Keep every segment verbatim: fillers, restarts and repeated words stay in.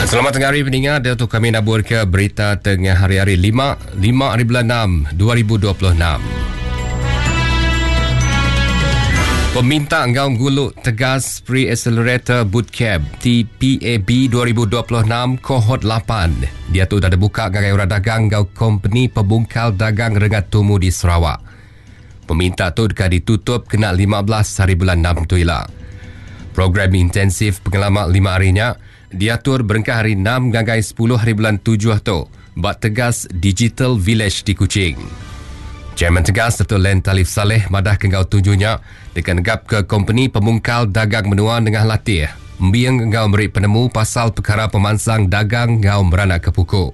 Selamat tengah hari pendengar, dia tu kami nabur ke berita tengah hari-hari lima, lima hari bulan enam, dua ribu dua puluh enam. Peminta Ngau Gulu Tegas Pre-Accelerator Bootcamp T P A B dua ribu dua puluh enam Kohort lapan. Dia tu dah dibuka ngagai orang dagang ngau company pembungkal dagang rengat tumu di Sarawak. Peminta tu dekat ditutup kena lima belas hari bulan enam tu ila. Program intensif pengalaman lima harinya diatur berengkah hari enam ngagai sepuluh hari bulan tujuh tu bak Tegas Digital Village di Kuching. Chairman Tegas Dato' Len Talif Saleh madah ke ngau tujuhnya dekat negap ke company pemungkal dagang menua nengah latih. Embiang ngau meri penemu pasal perkara pemansang dagang ngau meranak ke pukul.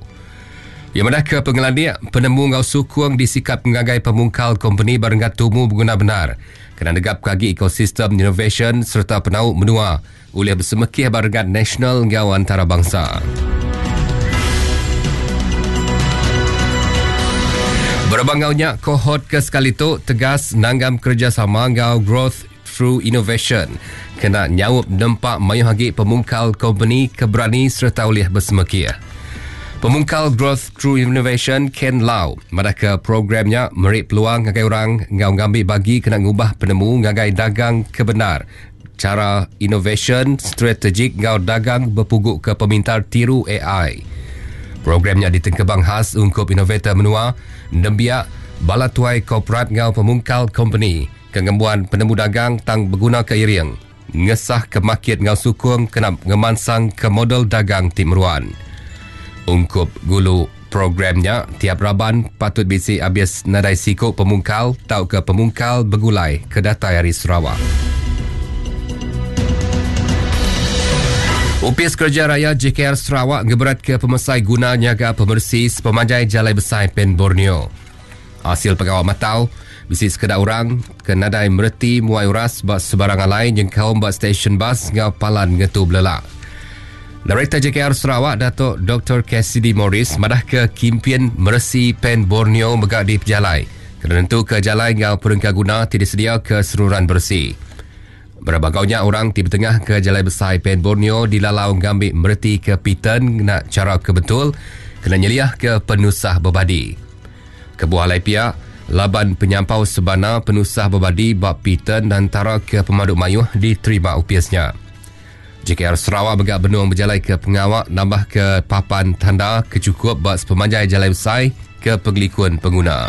Ia madah ke pengelandik penemu ngau sukung disikap ngagai pemungkal company barenggat tumu berguna benar. Kena negap kagi ekosistem innovation serta penau menua oleh bersemekih barenggat nasional ngau antarabangsa. Berbangaunya kohort ke sekali tu Tegas nanggam kerjasama ngau Growth Through Innovation. Kena nyaup nempak mayuh agi pemungkal company keberani serta oleh bersemekih. Pemungkal Growth Through Innovation Ken Lau madah ke programnya merik peluang ngagai orang ngau ngambil bagi kena ngubah penemu ngagai dagang kebenar. Cara innovation strategik ngau dagang berpuguk ke pemintar tiru A I. Programnya ditengkebang khas ungkup inovator menua, nembiak, bala tuai korporat ngau pemungkal company, kengembuan penemu dagang tang berguna ke iring, ngesah ke market ngau sukung kena ngemansang ke model dagang tim meruan. Ungkup gulu programnya tiap raban patut bisi habis nadai siko pemungkal tau ke pemungkal begulai ke datai hari Sarawak. Upis Kerja Raya J K R Sarawak ngeberat ke pemesai guna nyaga pemersi sepemanjai Jalai Besai Pen Borneo. Hasil pengawal matau, bisi sekedar orang ke nadai mereti muai uras bak sebarang lain yang kaum bak stesen bas ngau palan ngetu belelak. Director J K R Sarawak Datuk Doktor Cassidy Morris madah ke kimpian meresi Pen Borneo megak di pejalai. Kena nentu ke jalai ngau perengka guna tidak sedia ke seruran bersih. Berbagaunya orang di tengah ke Jalai Besai Pen Borneo dilalau ngambil mereti ke Pitan nak cara kebetul kena nyeliah ke penusah berbadi. Kebuah lai pihak laban penyampau sebana penusah berbadi bab Pitan dan tara ke pemaduk mayuh diterima upiasnya. J K R Sarawak begak benung berjalai ke pengawak nambah ke papan tanda kecukup bab sepemanjai Jalai Besai ke pengelikun pengguna.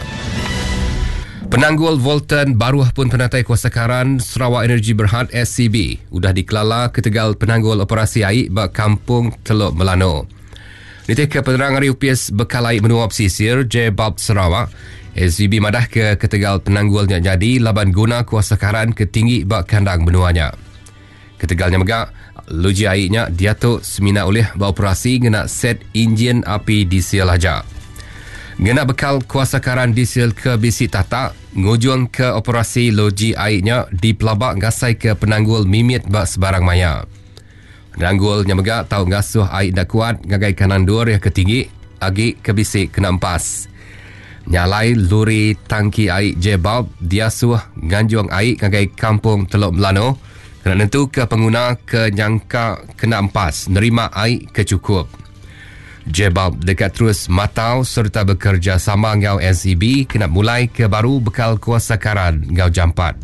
Penanggul Voltan baruh pun penatai kuasa karan Sarawak Energy Berhad S C B udah dikelala ketegal penanggul operasi air bak Kampung Teluk Melano. Nitih ke penerang hari U P S bekal air menua pesisir J Bulb Sarawak, S C B madah ke ketegal penanggulnya jadi laban guna kuasa karan ketinggi bak kandang menuanya. Ketegalnya megak, luji airnya diatuk semina oleh beroperasi ngena set enjin api diesel aja. Ngena bekal kuasa karan diesel ke bisi tatak, ngujung ke operasi loji airnya di pelabak ngasai ke penanggul mimit bak sebarang maya. Penanggulnya megak tau ngasuh air dak kuat ngagai kanan dua yang ketinggi, agi ke bisi kena empas. Nyalai luri tangki air J-Bulb diasuh nganjung air ngagai Kampung Teluk Melano kena nentu ke pengguna ke nyangka kena empas nerima air kecukup. J-Bulb dekat terus matau serta bekerja sama ngau S E B kena mulai ke baru bekal kuasa karan ngau jampat.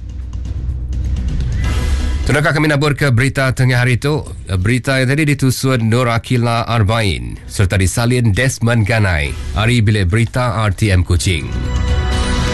Terima kami nabur ke berita tengah hari itu. Berita yang tadi ditusun Nur Akila Arbain serta disalin Desmond Ganai. Hari Bilik Berita R T M Kuching.